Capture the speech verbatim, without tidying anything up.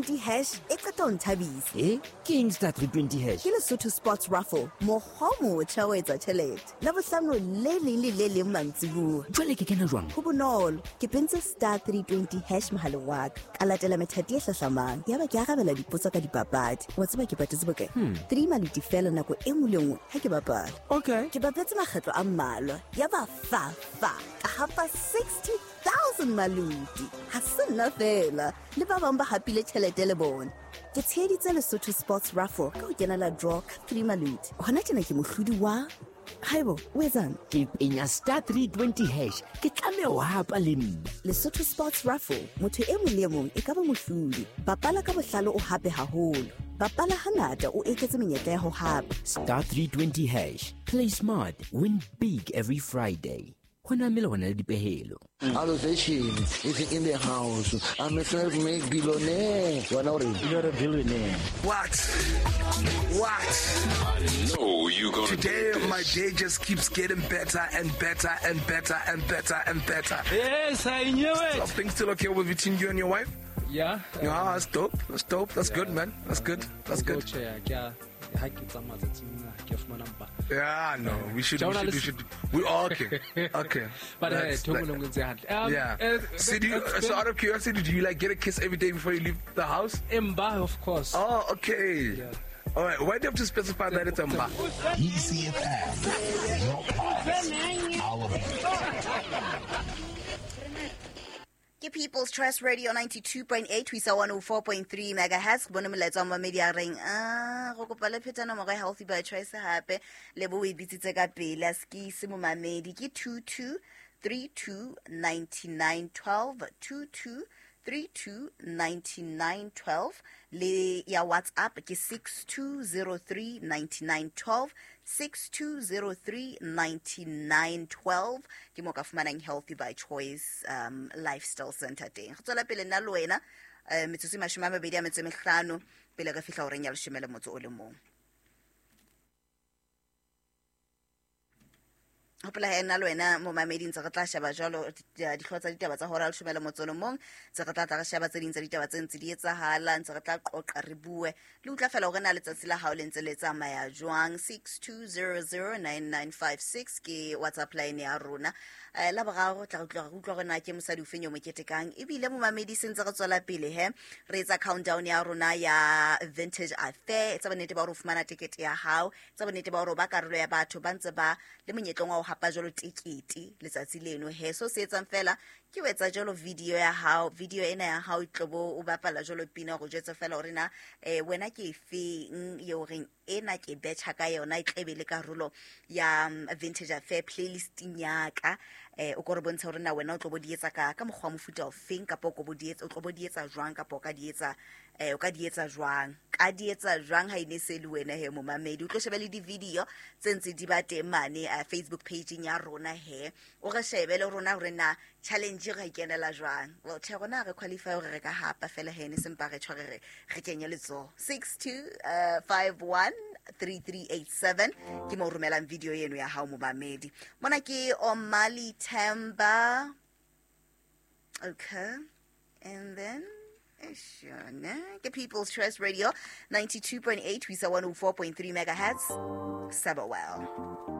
three twenty hash e qeta ho nthabisa. Eh, ke eng star three twenty hash? Ke Lesotho Sports Raffle, mokgwa o motjha o etsa tjhelete Labohlano le leng le le leng mantsibuya. Jwale ke kena jwang? Ho bonolo, ke pentse star three twenty hash mohaleng wa ka, ka latela methati e hlahlamang, yaba ke arabela dipotso ka dipapadi. Wa tseba ke patetse bokae? Three maluti fela nako e nngwe le nngwe ha ke bapala. Okay. Ke bapetse makgetlo a mmalwa, yaba fa fa ka hapa sixty thousand maluti. Ha se nna fela, le ba bang ba hapile tjhelete le bona. Ke tsheheditse Lesotho Sports Raffle ka ho kenela draw ka three maluti. Hona tjena ke mohlodi wa. Haibo, o etsang? Ke penya star three twenty hash, ke tlameha ho hapa le nna. Lesotho Sports Raffle, motho e mong le e mong e ka ba mohlodi. Bapala ka bohlale, o hape haholo. Bapala hangata, o eketse menyetla ya ho hapa. Star three twenty hash, play smart, win big every Friday. Ho na melawana le dipehelo. Allocation is in the house. I'm a self-made billionaire. Wena o reng? You're a billionaire. What? What? I know you gonna Today, do this. My day just keeps getting better and better and better and better and better. Yes, I knew it. Are things still okay with between you and your wife? Yeah. Yeah, that's dope. That's dope. That's good, man. That's good. That's good. Tjhe, ke a ha ke tsamaya tsatsing lena, ke fumana mpa. Yeah, no, we should, we should, we should. We okay, okay. But hey, That's- thoko le ntse hantle. Um, Yeah. uh, So, do you, it's so been- out of curiosity, do you like get a kiss every day before you leave the house? Emba, of course. Oh, okay. Yeah. All right. Why do you have to specify that it's a mba? E C F M, your pulse, our beat. Ke People's Trust Radio ninety-two point eight ho isa one oh four point three megahertz. Ke bone molaetsa wa mamedi a reng a go kopa le pheta nomoro ya Healthy by Choice hape le bo o e bitsitse ka pele a se ke ise momamedi. Ke twenty-two thirty-two ninety-nine twelve, twenty-two thirty-two ninety-nine twelve, le ya WhatsApp ke six two zero three ninety-nine twelve, six two zero three ninety-nine twelve. Ke mo ka fumanang Healthy by Choice um, Lifestyle Center teng. Go tswela pele nna le wena eh, metsotso e mashome a mabedi a metso e mehlano pele re fihla horeng ya leshome le motso o le mong. Hopola he nna le wena momamedi ntse re tla sheba jwalo di- dihlooho tsa ditaba tsa hora ya leshome le motso o le mong. Ntse re tla tla re sheba tse ding tsa ditaba tse ntse di etsahala, ntse re tla qoqa, re bue le utlwa fela hore na letsatsi la hao le ntse le tsamaya jwang. six two zero zero nine nine five six ke WhatsApp line ya rona. um la boraro tla re utlwa re utlwa hore na ke mosadi ofeng yo mo ketekang. Ebile momamedi se ntse re tswela pele he re etsa countdown ya rona ya Vintage Affair. Etsa bonnete ba hore o fumana tekete ya hao, etsa bonnete ba hore o ba karolo ya batho ba ntse ba le monyetleng wa ho hapa jwalo tekete letsatsi leno he. So se etsang fela ke ho etsa jwalo video ya hao, video ena ya hao e tlobo o bapala jwalo pina, go jwetsa fela hore na eh, wena ke efeng eo reng ena ke betjha ka yona, e tlebe le karolo ya um, Vintage Affair playlisting ya ka. eh o ko re bontsha hore na wena o tlo bo di etsa ka ka mokgwa wa mofuta ofeng, kapa o ko bo di etsa, o tlo bo di etsa jwang, kapa o ka di etsa eh o ka di etsa jwang, ka di etsa jwang ha ine se le wena he momamedi. O tlo shebe le di-video tse ntse di ba teng mane uh, Facebook pageng ya rona he, o re shebe le rona hore na challenge re e kenela jwang. Well, tjhe, rona ha re qualify hore re ka hapa fela he, ne sempa re tjho re re re kenye letsoho. six two uh, five one three three eight seven ke mo romelang video eno ya hao momamedi. Mona ke Omali Themba. Okay, and then Shona. Ke People's Trust Radio ninety-two point eight ho isa one oh four point three megahertz. Sabawell.